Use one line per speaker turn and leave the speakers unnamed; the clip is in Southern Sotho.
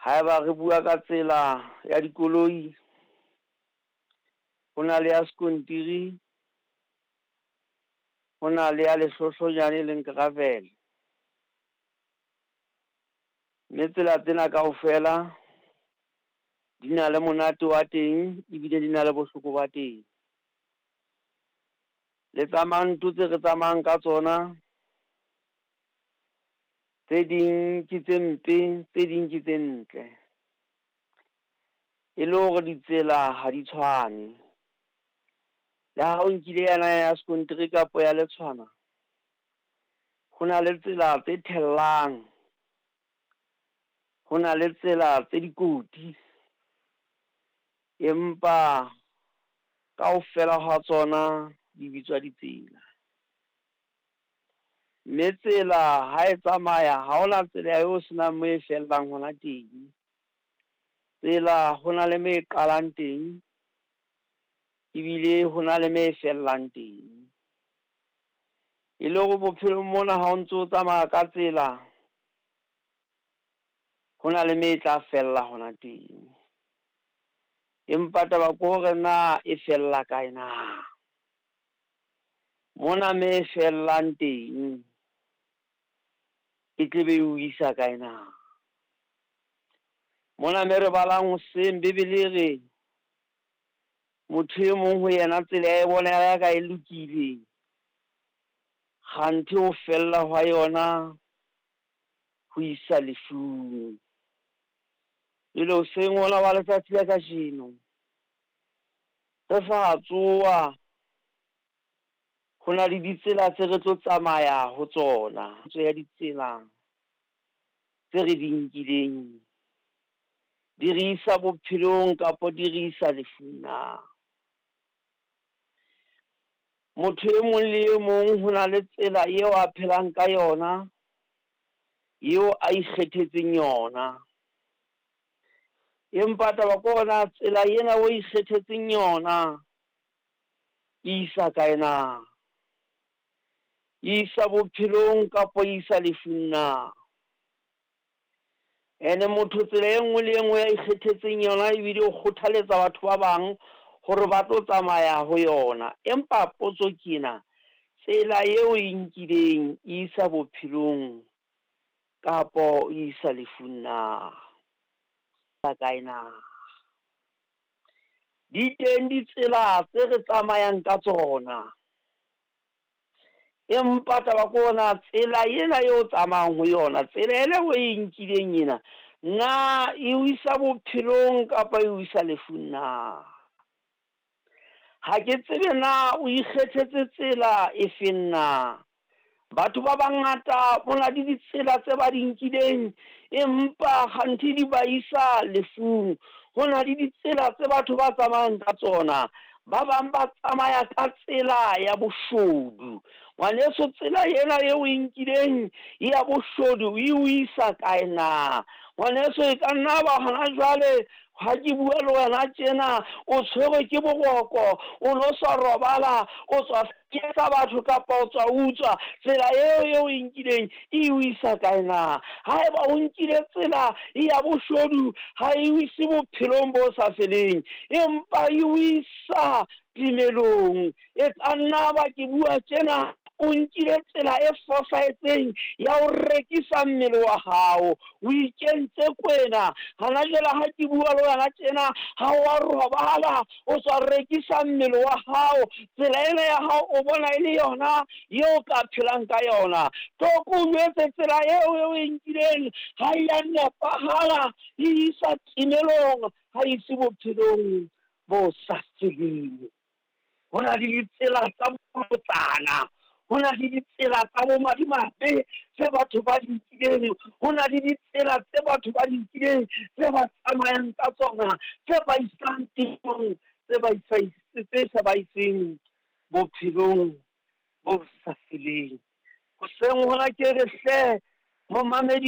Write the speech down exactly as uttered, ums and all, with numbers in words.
Haeba re bua ka tsela ya dikoloi, ho na le ya sekontiri, ho na le ya lehlohlojane e leng gravel. Mme tsela tsena kaofela di na le monate wa teng ebile di na le bohloko ba teng. Le tsa manto tse re tsamayang ka tsona, tse ding ke tse mpe, tse ding ke tse ntle. E le hore ditsela ha di tshwane. Le ha o nkile yona ya sekontiri kapa ya letshwana, ho na le tsela tse thellang, ho na le tsela tse dikoti, empa kaofela ha tsona di bitswa ditsela. Mme tsela ha e tsamaya ha hona tsela eo senang moo e fellang hona teng. Tsela ho na le mo e qalang teng, ebile ho na le mo e fellang teng. E le hore bophelong mona ha o ntso tsamaya ka tsela, ho na le mo e tla fella hona teng. Empa taba ke hore na e fella kae na? Mona me e fellang teng e tle be o isa kae na? Mona me re balang hoseng Bebele e re motho e mong ho yena tsela ya e bona ya ka e lokile, kganthe ho fella hwa yona ho isa lefung. Jwale hoseng hona wa letsatsi la kajeno, re sa tsoha ho na le ditsela tse re tlo tsamaya ho tsona, tse ya ditsela tse re di nkileng di re isa bophelong kapa di re isa lefung na? Motho e mong le e mong ho na le tsela eo a phelang ka yona, eo a ikgethetseng yona. Empa taba ke hore na tsela ena o ikgethetseng yona e isa kae na? E isa bophelong kapa e isa lefung na? Ene motho tsela e nngwe le e nngwe ya ikgethetseng yona ebile o kgothaletsa batho ba bang hore ba tlo tsamaya ho yona. Empa potso ke ena, tsela eo e nkileng e isa bophelong kapo e isa lefung na? Kae na? Di teng ditsela tse re tsamayang ka tsona, empa taba ke hore na tsela ena eo tsamayang ho yona, tsela ena o e nkileng ena, na e o isa bophelong kapa e o isa lefung na? Ha ke tsebe na o ikgethetse tsela e feng na? Batho ba bangata ho na le ditsela tse ba di nkileng, empa kganthe di ba isa lefung. Ho na le ditsela tse batho ba tsamayang ka tsona. Ba bang ba tsamaya ka tsela ya boshodu. Ngwaneso, tsela ena eo o e nkileng ya boshodu e o isa kae na? Ngwaneso, e ka nna ba hona jwale ha ke bua le wena tjena o tshwerwe ke boroko, o no sa robala, o tswa ketsa batho kapa o tswa utswa. Tsela eo eo e nkileng e o isa kae na? Haeba o nkile tsela ya boshodu, ha e o ise bophelong bo sa feleng, empa e o isa timelong. E ka nna ba ke bua tjena o nkile tsela e fosahetseng ya ho rekisa mmele wa hao, o ikentse kwena. Hana jwale ha ke bua le wena tjena ha wa robala, o tswa rekisa mmele wa hao. Tsela ena ya hao o bona e le yona eo ka phelang ka yona. Tlo ko jwetse tsela eo eo e nkileng ha e ya nepahala, e isa timelong, ha e ise bophelong bo sa feleng. Ho na le ditsela tsa bolotsana, ho na le ditsela tsa bomadimabe tse batho ba di nkileng, ho na le ditsela tse batho ba di nkileng tse ba tsamayang ka tsona, tse ba isang temong, tse ba isang, tse sa ba iseng bophelong bo sa feleng. Hoseng hona ke re hle momamedi